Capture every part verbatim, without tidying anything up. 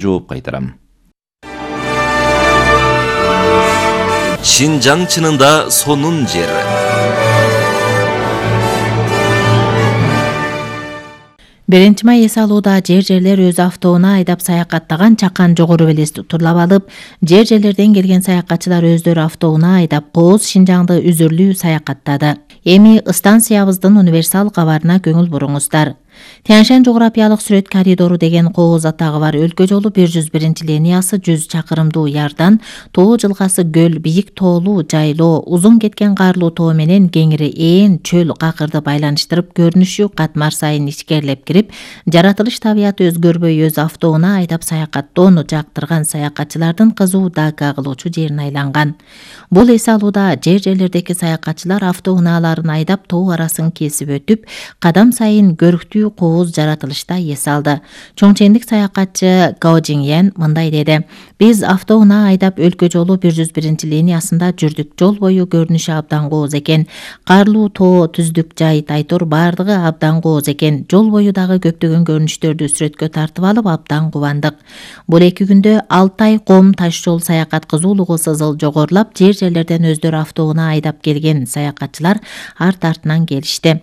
жооп кайтарам. Шинжаң чынында сонун жер. биринчи май эс алууда жер жерлер өз автоуна айдап саякаттаган чакан жогору белес турулап алып, жер жерлерден келген саякатчылар өздөрү автоуна айдап Кооз Шинжаңды үзүрлүү саякаттады. Эми станциябыздын универсал кабарына көңүл буруңуздар. Тянь-Шань жографиялык сүрөт коридору деген Кооз атагы бар өлкө жолу бир жүз биринчи линиясы жүз чакырымдуу ярдан Тоо жылгасы көл, бийик тоолуу жайлоо, узун кеткен карлуу тоо менен кеңири ээн чөл какырды байланыштырып көрүнүшү катмар сайын ичкерлеп кирип, жаратылыш табияты өзгөрбөй өз автоуна айдап саякаттоону жактырган саякатчылардын кызуу дака кылуучу жерине айланган. Бул эс алууда жер жерлердеги саякатчылар автоунааларын айдап тоо арасын кесип өтүп, кадам сайын көрктүү Кооз жаратылышта эс алды. Чоңчендик саякатчы Гао Жиңьян мындай деди: "Биз автоуна айдап өлкө жолу бир жүз биринчи линиясында жүрдүк. Жол бою көрүнүшү абдан кооз экен. Карлуу тоо, түздүк жай, тайтор бардыгы абдан кооз экен. Жол бою дагы көптөгөн көрүнүштөрдү сүрөткө тартып алып абдан кубандык. Бул эки күндө Алтай Ком таш жол саякат кызуулугу сызыл жогорулап, жер жерлерден өздөрү автоуна айдап келген саякатчылар арт артынан келишти.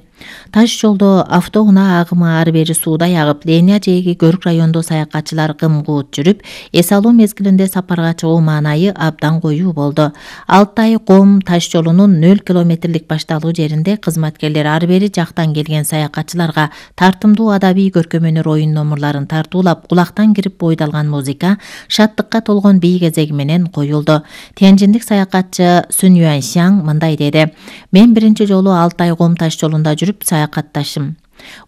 Таш жолдо автоуна агымы ары бери суудай агып, Ления жээги Көрк райондо саякатчылар кым-куут жүрүп, эс алуу мезгилинде сапарга чыгуу маанайы абдан коюу болду. Алтай Ком таш жолунун нөл километрлик башталуу жеринде кызматкерлер ары бери жактан келген саякатчыларга тартымдуу адабий көркөмөнөр оюн номурларын тартуулап, кулактан кирип бойдалган музыка шаттыкка толгон бий кезеги менен коюлду. Тяньшандык саякатчы Сүн Юаньшаң мындай деди: "Мен биринчи жолу Алтай Ком таш жолунда жүрүп саякатташым.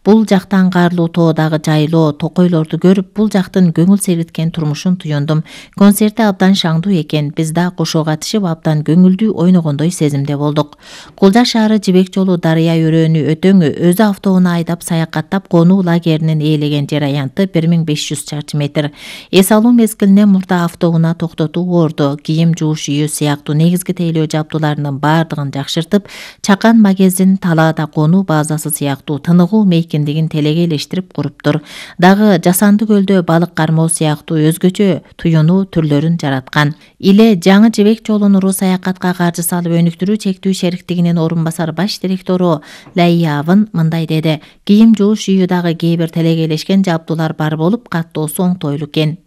Бул жактан карлуу тоодагы жайлоо, токойлорду көрүп, бул жактын көңүл сергиткен турмушун туюндум. Концерти абдан шаңдуу экен. Биз да кошо катышып, абдан көңүлдүү ойногондой сезимде болдук. Кулжа шаары Жибек жолу Дарыя өрөөнү өтөңү өзү автоуна айдап саякаттап конуу лагеринин ээлеген жер аянты бир миң беш жүз чарчы метр. Эс алуу мезгилинен мурда автоуна токтотуу орду, кийим жууш үйү сыяктуу негизги тейлөө жабдууларынын бардыгын жакшыртып, чакан магазин, талаада конуу базасы сыяктуу тыныгуу мейкиндигин телегейлештирип куруптур. Дагы жасанды көлдө балык кармоо сыяктуу өзгөчө туюнуу түрлөрүн жараткан. Иле жаңы Жибек жолун уруу саякатка каржы салып өнүктүрүү чектүү шериктигинин орун басар баш директору Лайявын мындай деди: "Кийим жууш үйү дагы кээ бир телегейлешкен жабдуулар бар болуп, каттоосу оңтойлуу экен."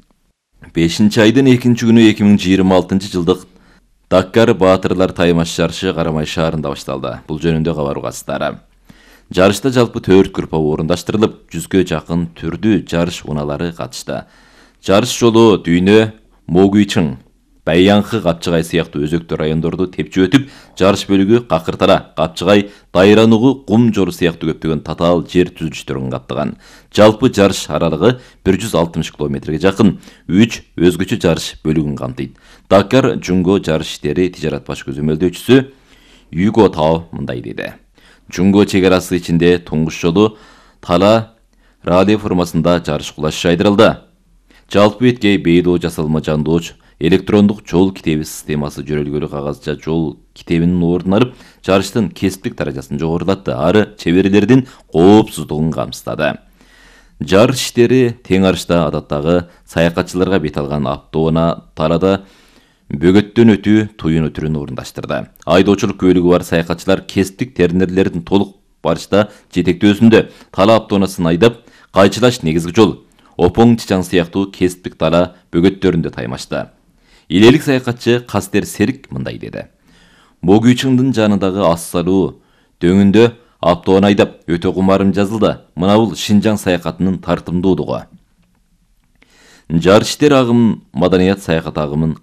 бешинчи айдын экинчи күнү эки миң жыйырма алтынчы жылдык Даккар Баатырлар таймаш жарышы Карамай шаарында башталды. Бул жөнүндө кабар угасыздар. Жарышта жалпы төрт группа орундаштырылып, жүзгө жакын түрдүү жарыш унаалары катышты. Жарыш жолу Дүйнө, Могуйчың, Байянхы, Капчыгай сыяктуу өзөктүү райондорду тепчип өтүп, жарыш бөлүгү Какыртара, Капчыгай, Дайранугу, Кум жору сыяктуу көптөгөн татаал жер түзүлүштөрүн каптаган. Жалпы жарыш аралыгы бир жүз алтымыш километрге жакын үч өзгөчө жарыш бөлүгүн камтыйт. Даккар Жунго жарыш иштери тижарат баш көзөмөлдөөчүсү Юго Тао мындай деди: "Жунго чек арасы ичинде туңгуч жолу Тала радио формасында жарыш кулашы жайдырылды. Жалпы беткей бейдоо жасалма жандооч электрондук жол китеби системасы жөрөлгөлү кагазча жол китебинин ордун алып, жарыштын кесиптик даражасын жогорулатты, ары чеберлердин коопсуздугун камсыздады. Жарыш иштери тең арышта адаттагы саякатчыларга бет алган автоуна Талада бөгөттөн өтүү туюну түрүн орундаштырды. Айдоочулук күбөлүгү бар саякатчылар кесиптик тернерлердин толук барышта жетектөөсүндө Тала автоунасын айдап, Кайчылаш негизги жол, Опоң Чичаң сыяктуу кесиптик тала бөгөттөрүндө таймашты. Илелик саякатчы Кастер Серик мындай деди: "Могуйчыңдын жанындагы ас салуу дөңүндө автоуна айдап өтө кумарым жазылды. Мына бул Шинжаң саякатынын тартымдуулугу. Жарыш иштери агым маданият саякат агымын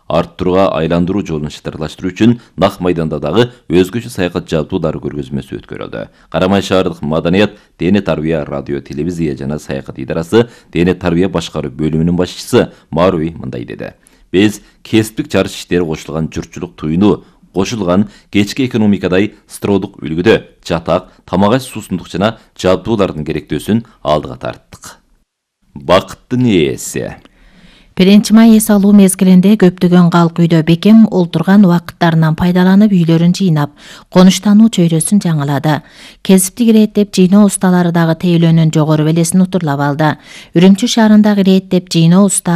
арттырууга айландыруу жолун шытырлаштыруу үчүн нак майданда дагы өзгөчө саякат жабдуулары көргөзмөсү өткөрүлдү. Карамай шаардык маданият, дене тарбия, радио, телевизия жана саякат идарасы дене тарбия башкаруу бөлүмүнүн башчысы Маруи мындай деди: "Биз кесиптик жарыш иштери кошулган журтчулук туюну кошулган кечки экономикадай стродук үлгүдө жатак, тамак аш суусундук жана жабдуулардын керектөөсүн алдыга тарттык." Бакыттын ээси. биринчи май эс алуу мезгилинде көптөгөн калк үйдө бекем олтурган убакыттарынан пайдаланып үйлөрүн жыйнап, конуштануу чөйрөсүн жаңылады. Кесиптик ирээттеп жыйноо усталары дагы тейлөөнүн жогору белесин утурлап алды. Үрүмчү шаарындагы ирээттеп жыйноо уста